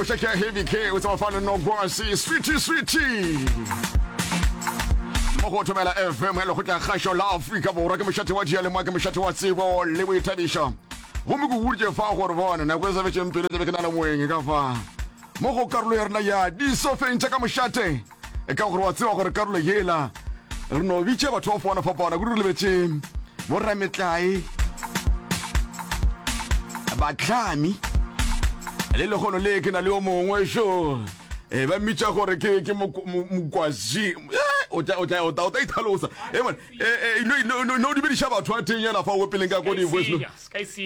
Koša ke ya Heavy K o tseba fano no kwasi sweetie sweetie. Mo go thobela FM ya lekgotla kgašo la Afrika Borwa ke mošate wa diyalemoya ke mošate wa tsebo le boithabišo. Gomme ke boditše fa gore bona nako e sa fetšeng pelo tlabe ke na le moeng ka fa mo go karolo ya rena ya disofeng tša ka mošate. E ka gore wa tseba gore karolo yela re no bitša batho ba fapana fapana kudu re lebetše borametlae batlhami le legono le ke na le yo mongwe šo e ba mmitša gore ke ke mokwazi eh, o tla o tla o tla o tla ithalosa e man e e no no no dumediša batho a teng yana fa o peleng ka ko di voice no ke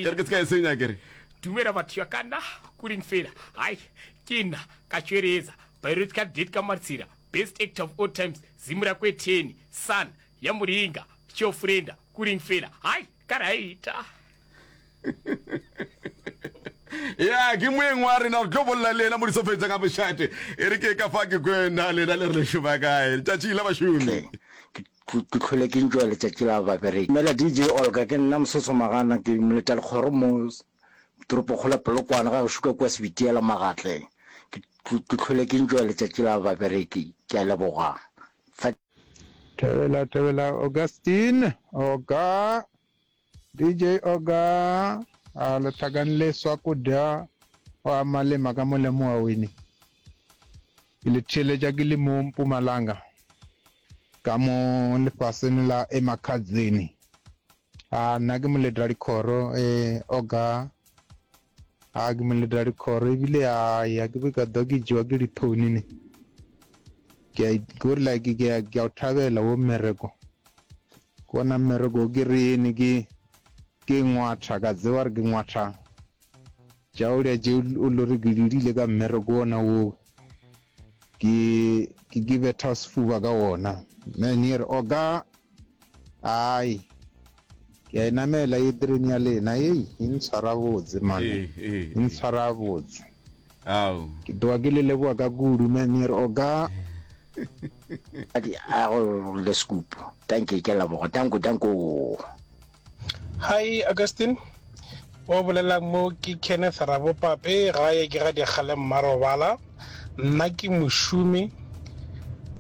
re ke se ka e senya ke re dumela batho ya ka nna kuring fela hai ke nna ka tšweretsa Biological Date ka Martsira, Best Actor of All Times, Zimura Kwetheni, Son, ya Muringa, Chofrenda, Kuring Fela, Hai, ka raita. Ya, ke moeng wa rena, re tlo bolela le yena mo disofeng tša ka mošate. E re ke ka fa ke kwe na lena le re le šoma kae. Letšatši la bašomi. Ke ke hlole ke enjoya letšatši la babereki. Dumela DJ Olga, ke nna Mosotho Magana, ke moletalekgoro mo toropokgolo ya Polokwane ga gešo ka kua Sebitiela Magatleng. Ke ke hlole ke enjoya letšatši la babereki. Ke a leboga. Fa. Thobela thobela Augustine Oga DJ Oga a le hlakane le swakudya wa malema ka mo lemoga wene. Ke le theeletša ke le mo Mpumalanga ka mo lefaseng la Emakhadzeni. A nna ke moletadikhoro eh Oga a ke moletadikhoro ebile a ya ke be ka dwa ke jewa ke diphone ne. Ke a gore like ke a ke a o thabela wo mmereko. Ke ona mmereko ke re ke ke ngwatha ka tseba gore ke ngwatha Tšaolya tše o lo re ke dirile ka mmereko wona wo, ke ke ke betha sefuba ka wona. Man ye re oka ai ke a e namela ye terene ya lena ei e ntshwara botse man Ee, ee, e ntshwara botse. Ao. Ke tloga ke le leboga ka kudu man ye re oka. A go le scoop. Dankie ke a leboga. Danko danko. Hi Augustine, o bolelang mo ke Kenneth Rabopape, gae ke ga Dikgale Mmarobala. Nna ke mošomi,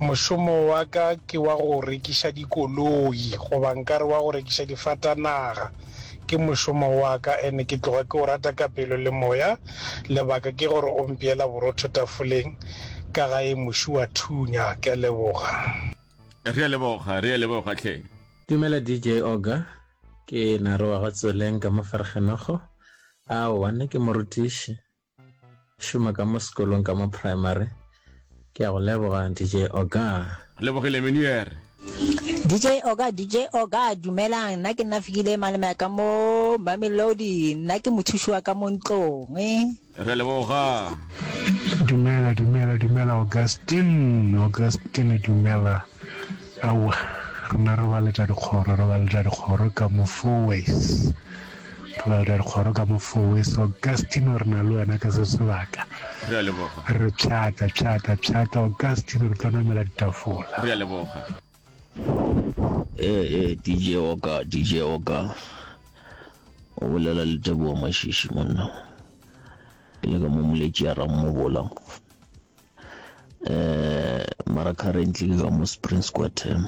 mošomo wa ka ke wa go rekiša dikoloi goba nkare wa go rekiša difatanaga. Ke mošomo wa ka ene ke tloga ke o rata ka pelo le moya. Lebaka ke gore o mpeela borotho tafoleng ka gae moši wa thunya. Ke a leboga. Re a leboga, re a leboga hle. Dumela DJ Oga, ke Nare wa ga Tsoleng ka mo Vergenogo. Aowa, nna ke morutiši, šoma ka mo sekolong ka mo primary. Ke a go leboga DJ Oga. Lebogile Meneer. DJ Oga, DJ Oga, dumelang, nna ke nna Fikile Malome ka mo Mamelodi, nna ke mothuši wa ka mo ntlong. Re a leboga. Dumela, dumela, dumela Augustine, Augustine dumela. Aowa, rena re baletša dikgoro, re baletša dikgoro ka mo Fourways. Re baletša dikgoro ka mo Fourways. Augustine re na le wena ka se sebaka. Re a leboga. Re pšhatla, pšhatla, pšhatla Augustine re tlo namela ditafola. Re a leboga. Ee, ee, DJ Oka, DJ Oka. O bolela le Tebogo Mashishi monna. Ke le ka mo moletši ya Rammobola. Eh, mara currently ke ka mo Spring Square Term.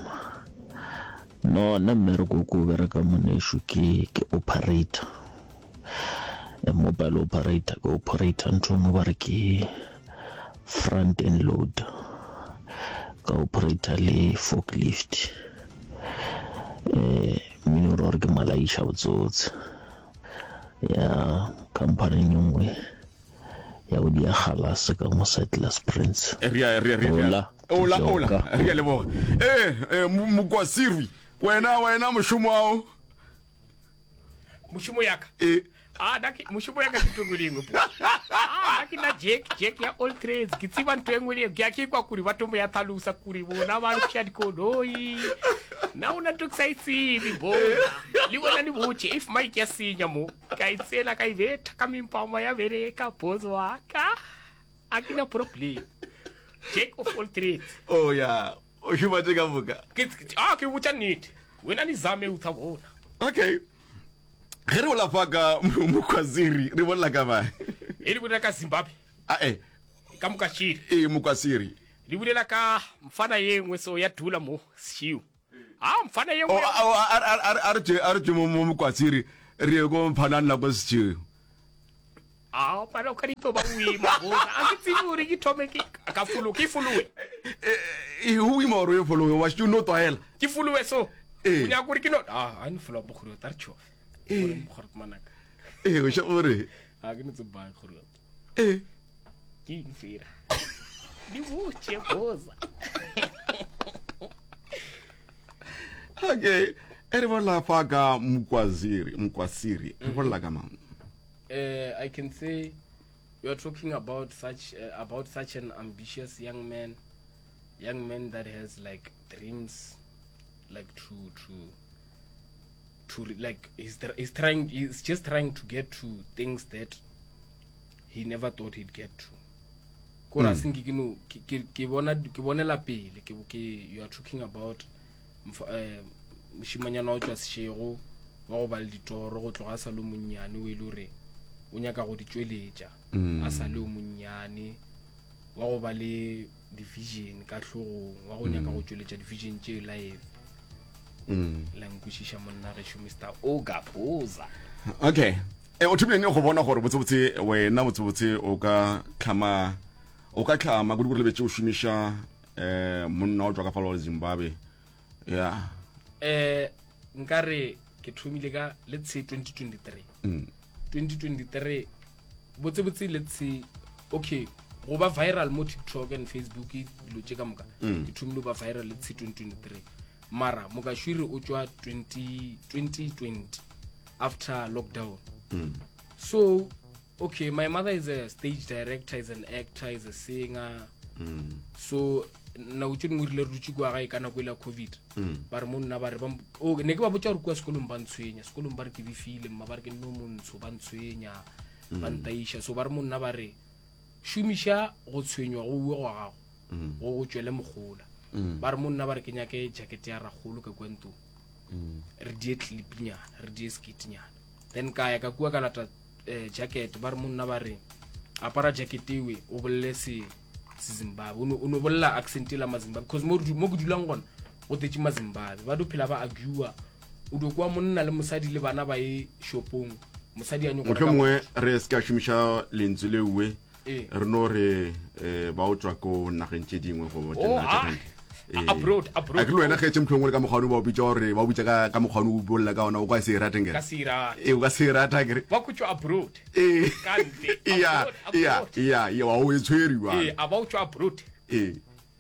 No, nna mmereko ko o bereka monesho ke ke operator. A mobile operator, ke operator ntho nngwe ba re ke front end load. Ka operator le forklift. Eh, Mmino o ra gore ke malaiša botsotse ya khamphaning e nngwe ya go dia galase ka mo Settlers Prince. Re a re re Ola, ola ola re a leboga. Eh eh Mokwasirwi wena wena mošomo ao mošomo ya ka e a na ke mošomo ya ka ke ntho engwe le engwe po a na ke na jack jack ya all trades ke tseba ntho engwe le ke a ke kwa kuri batho mo ya tlhalosa kuri bona ba lokisha dikoloi na ona ntho ke sa e tsebe bona le wena le botse if mike ya senya mo ka e tsena ka e betha ka mempama ya bereka boss wa ka a ke na problem jack of all trades oh ya o šoma tše ka moka ke a ke botša nnete wena ni zame o tla bona okay Ge re bolela fa ka Mokhwaziri, re bolela ka mang? E re bolela ka Zimbabwe. Ae. Ka Mokashiri. Ee, Mokasiri. Di bolela ka mfana ye nngwe so ya dula mo sešio. A mfana ye nngwe. Oh, a re tšwe a re tšwe mo mo Mokasiri re ye ko mfana nna ko sešio. A pana o ka ditlo ba o ima boza. A ke tsebe gore ke thome ke ka folo ke folowe. E o ima gore o e folowe wa šetše o no tlwaela. Ke folowe so. O nyaka gore ke no a a ni folowa bogore ta re tšhofe. Ee. Gore manaka. Ee, o še gore. A ke no tseba gore. Ee. Ke eng fela? Di botše boza. Okay. E re bolela fa ka Mkwaziri, Mkwasiri. Re bolela ka mang? Uh, I can say you are talking about such uh, about such an ambitious young man, young man that has like dreams, like to to to like he's he's trying he's just trying to get to things that he never thought he'd get to. Kore a mm. senke ke no ke bona ke bonela pele ke ke you are talking about eh, mošimanyana wa tšwa sešego wa go ba le ditoro go tloga a sa le monnyane o e le gore o nyaka go di tšweletša mm. a sa le o monnyane wa go ba le division ka hlogong wa go nyaka mm. go tšweletša division tše live mm. la nkwešiša monna gešo mr ogapoza okay e o thomile neng go bona gore botsebotse wena botsebotse o ka tlhama o ka tlhama kudu gore lebetse o šomiša um monna o tswa ka falo zimbabwe ya eh nkare ke thomile ka let's say 2023 mm. 2023 botsebotse let's say okay go ba viral mo tiktok and facebook dilo tše ka moka mm. ke thomile go ba viral let's say 2023 mara mokashwiri o tšwa 2020 after lockdown mm. so okay my mother is a stage director is an actor is a singer mm. so nako tse dingwe rile re dutse kua gae ka nako e la covid mm. ba re mo nna ba re oh, ne ke ba botsa gore kua sekolong ba ntshwenya sekolong ba re ke befile mma ba re ke nno montsho ba ntshwenya mm. ba ntaiša so ba re mo nna ba re šomiša go tshwenywa go uwe gwa gago mm. go go tšwele mogola ba re mo nna ba re ke nyake jacket ya ragolo ka kua ntong re die clipnyana re die skitnyana then ka ya ka kua ka lata eh, jacket ba re monna ba re apara jacket ewe o bolele se sezimbabwe o no bolela accent la mazimbabwe because mo mo ke dulang gona go tetse mazimbabwe ba do phela ba argua o do kwa monna le mosadi le bana ba ye shopong mosadi a nyoko motlho mongwe re se ka šomiša lentswe leuwe Ee. re no re eh, ba o tswa ko nageng tše dingwe go Oh, ah. Abroad, abroad. a ke le wena ge tše motlho mongwe le ka mokgwane ba o bitša gore ba o bitša ka ka mokgwane o bolela ka ona o ka se e rateng ka se e rate. ee o ka se e rata kere ba ko tswa abroad ee ka ntle ya Abroad, ya abroad. ya ya wa o e tshwere ee a ba o tswa abroad ee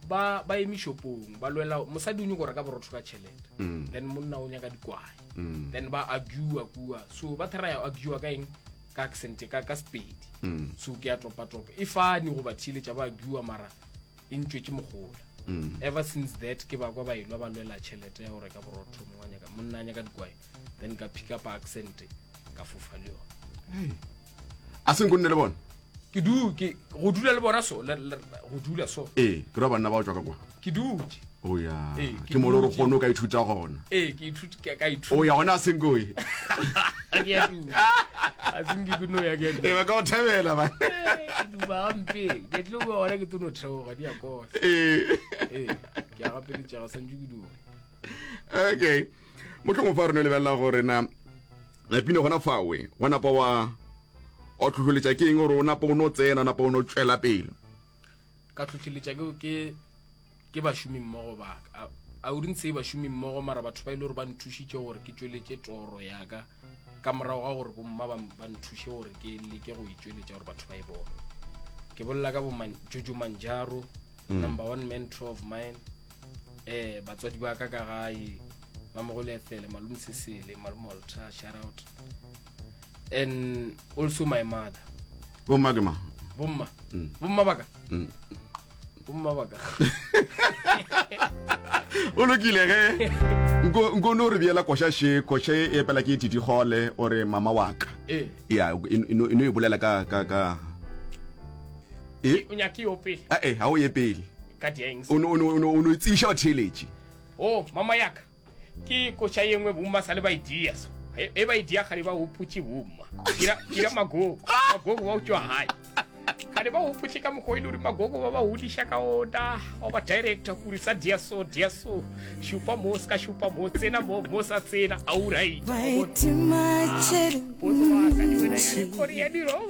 ba ba eme shopong ba lwela mosadi o nyako reka borotho ka tšhelete Mm. then monna o nyaka dikwae Mm. then ba argua kua so ba theraya argua ka eng ka accent ka ka sepedi Mm. so ke ya topa topa e fane go ba theeletša ba argua mara e ntšwetše mogola Mm. ever since that ke ba kwa ba elwa ba lwela tšhelete ya go reka borotho mongwe a nyaka monna a nyaka dikwae then ka pick up accent ka fofa le yone a se nko nne le bona ke du ke go dula le bona so go dula so ee ke ra banna ba o tswa ka kwa ke dutše o ya Ee, ke mo le gore dutše. kgone o ka ithuta gona ee ke ithuta ka ithuta o ya gona a senkoe ke a duma a senke ke no ya ke ee ba ka o thabela ba ke duma gampe ke tlo bua gona ke tlo no theoga di a kosa ee ee ke a gapeletšega santse ke duma okay mohlomong fa re no lebelela gore na Pina gona fawe wa napa wa wa tlhohleletša ke eng gore o napa o no tsena napa o no tšwela pele ka tlhohleletša ke ke ke bašomi mmogo ba ka I wouldn't say bašomi mmogo mara batho ba ile gore ba nthušitše gore ke tšweletše toro ya ka ka morago ga gore bomma ba ba nthuše gore ke leke go e tšweletša gore batho ba e bone ke bolela ka bo Jojo Manjaro mm. number one mentor of mine eh batswadi ba ka ka gae mamogolo ethele malome sesele malome walter shout out and also my mother bomma ke mang bomma mm. bomma baka mm. bomma baka o lokile ge nko no re biela koša še koša e epela ke tidigole o re mama wa ka eh. ya e no e bolela ka ka ka e o nyake yo pele eh ha o ye pele ka dieng o no o no o no tsisha batheeletši O, mama ya ka, ke koša ye nngwe bomma sa le ba e dia so. E, e ba e dia gale ba hopotše bomma. Kira, kira magogo, magogo wa o tšwa gae. A ne ba gopotše ka mokgwa o e le gore magogo ba ba godiša ka ona, wa ba director kore sa dia so, dia so, šupa mo, se ka šupa mo, tsena mo, mo sa tsena, aurait. Potso wa ka le wena ya re kore ya diroba.